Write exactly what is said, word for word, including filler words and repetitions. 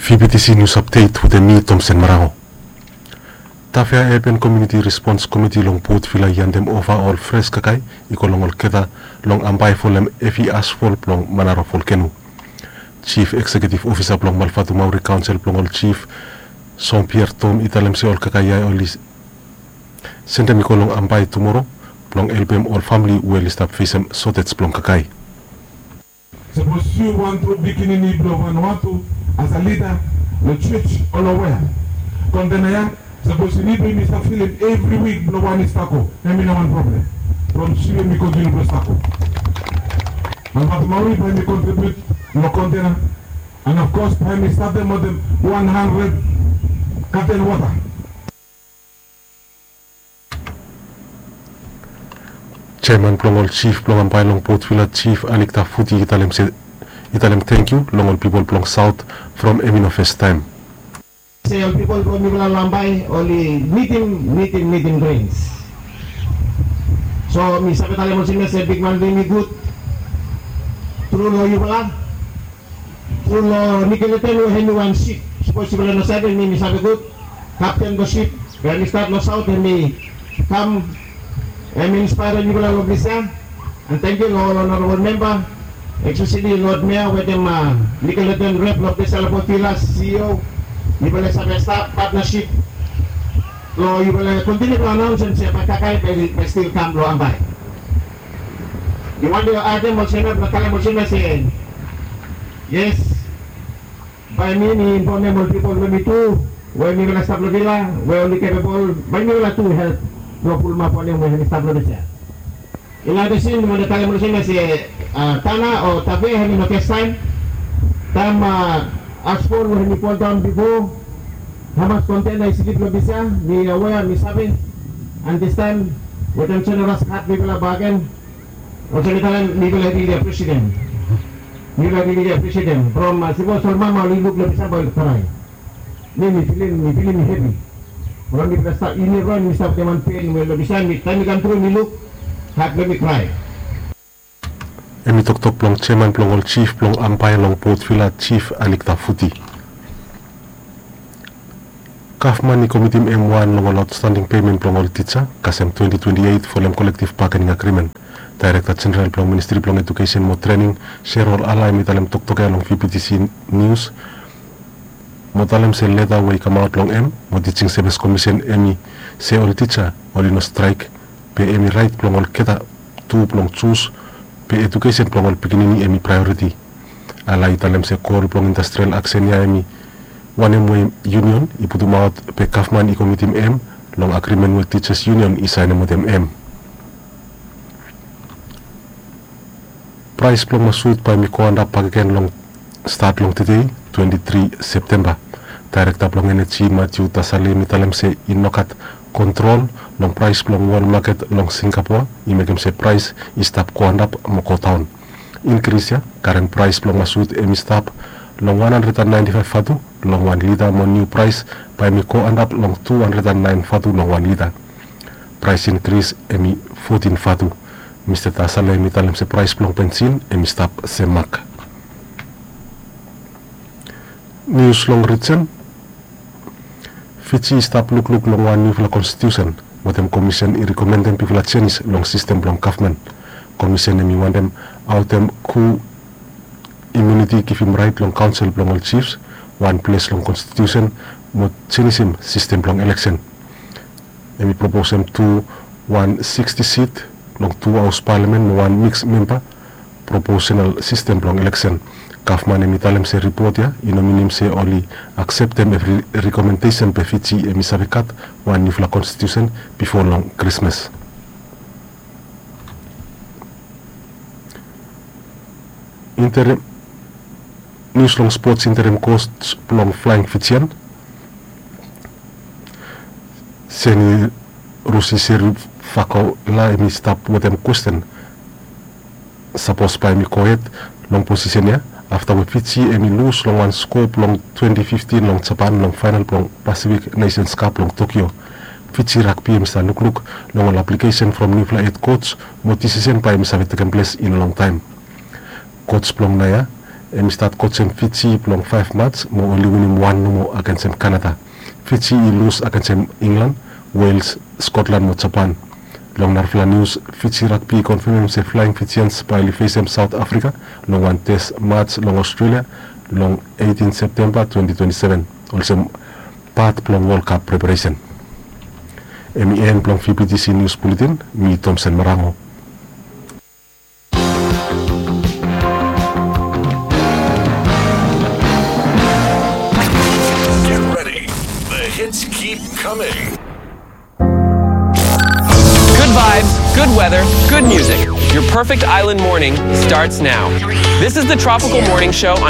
V B T C News Update wetem mi, Tomsen Marango. Tafea Urban Community Response Committee long Port Vila i handem ova ol fres kakae i go long olgeta long Ambae folem hevi asfol blong Manaro volkeno. Chief Executive Officer blong Malvatumauri Kaonsel blong ol Chief, Jean Pierre Tom, i talem se ol kakae ya oli sendem i go long Ambae tumoro blong helpem ol famili we oli stap fesem sotej blong kakae. Sapos yu wan tru pikinini blong Vanuatu, as a lida long church o long wea, kontena ya sapos i nid blong yumi stap filim evri wik blong wan i stap go, hemi no wan problem. From Suva mi kontiniu blong stap go. Malvatumauri bae mi kontribiut long kontena, and of course bae mi statem wetem wan handred katen wota. Jeaman blong ol jif blong Ambae long Port Vila, Jif Anik Tafuti, i talem se, i talem tangkiu long ol pipol blong Saot from hemi no fastaem. Se ol pipol blong mifala long Ambae oli nidim, nidim, nidim grens. So mi save talem olsem ya se bigman blong yumi i gud tru long yufala. Tru long Nikeleten we hemi wan sip. Sapos yufala no save, mi, mi save gud. Kapten blong sip we hemi stat long Saot, hemi kam, hemi inspaerim yufala long ples ya. And tangkiu long ol honorabol memba, espeseli Lod Mea wetem, a, Nikeleten rep long ples ya long Port Vila, C E O. Yufala save stap patnasip long yufala kontiniu blong anaonsem se bae kakae bae, bae stil kam long Ambae. Mi wantem long adem olsem ya, blong talem olsem ya se, yes, bae mi, mi infomem ol pipol blong mi tu we mifala stap long Vila we oli kepebol, bae mifala tu help blong pulumap wanem we hemi stap long ples ya. Inap olsem mi wantem talem olsem ya se, a, Tana o Tafea hemi no fastaem. Taem, a, asfol we hemi foldaon bifo, hamas kontena i slip long ples ya, mi awea, mi save. And distaem wetem jeneros hat mifala bakegen. Olsem mi talem, mifala rili apresietem. Mifala rili apresietem. From, a, sapos ol mama oli luk long ples ya bae oli krae. Mi, mi filim, mi filim hevi. From mifala stap, yumi evriwan yumi stap wetem wan pen we long ples ya, mi, taem mi kam tru mi luk, hat blong mi krae. Hemi toktok blong jeaman blong ol jif blong Ambae long Port Vila, Jif Anik Tafuti. Gavman i komitim hem wan long ol aotstanding pemen blong ol tija kasem twenti twenti eit folem kolektiv bagening agrimen. Daerekta Jeneral blong Ministri blong Ejukesen mo Trening, Sherol Alaem, i talem toktok ya long V B T C Nius mo talem se leta we i kamaot long hem mo Teaching Service Commission, hemi se ol tija oli no straek, be hemi raet blong olgeta tu blong jus, be ejukesen blong ol pikinini hemi praeoriti. Alaem i talem se gol blong industrial aksen ya hemi wanem we yunion i putumaot, be gavman i komitim hem long agrimen we Teachers Union i saenem wetem hem. Praes blong masuut bae hemi go antap bakegen long stat long tede, twenti tri Septemba. Daerekta blong Eneji, Matthew Tasale, hemi talem se i no gat kontrol long praes blong wol maket long Singapoa i mekem se praes i stap go antap mo go daon. Inkris ya karem praes blong masuut hemi stap long wan handred and naenti faef vatu long wan lita mo niu praes bae hemi go antap long tu handred and naen vatu long wan lita. Praes inkris hemi fotin vatu. Mista Tasale hemi talem se praes blong bensin hemi stap semak. Nius long rijen. Fiji i stap lukluk long wan niufala konstitiusen wetem komisen i rekomendem bigfala jenis long sistem blong gavman. Komisen hemi wantem aotem ku imuniti, givim raet long kaonsel blong ol jifs wan ples long konstitiusen mo jenisim sistem blong eleksen. Hemi proposem tu wan siksti sit long tu haos palamen mo wan miks memba proposenal sistem blong eleksen. Gavman hemi talem se ripot ya i no minim se oli akseptem evri rekomendesen, be Fiji hemi save gat wan niufala konstitiusen bifo long Krismas. Interim, nius long spots, interim kos blong Flying Fijian, Seni Rusi Seri Fakola, hemi stap wetem kwesten sapos bae hemi gohed long posisen ya afta we Fiji hemi lus long wan skoa blong twenti fiftin long Japan long faenal blong Pacific Nations Cup long Tokyo. Fiji Rugby hemi stap lukluk long ol aplikesen from niufala hed koj mo disisen bae hemi save tekem ples i no longtaem. Koj blong naoia Hem i stat kotsim Fiji blong faef mats mo oli winim wan nomo agensem Kanada. Fiji i lus agensem Inglan, Wales, Skotlan mo Japan. Long narafala nius, Fiji Rugby i konfemem se Flying Fijians bae oli fesem Saot Afrika long wan tes mats long Australia long eighteen Septemba twenty twenty-seven olsem pat blong World Cup preparesen. Hem i en blong V B T C News Bulletin, mi Thomson Marango. Get ready. The hits keep coming. Good vibes, good weather, good music. Your perfect island morning starts now. This is the Tropical Morning Show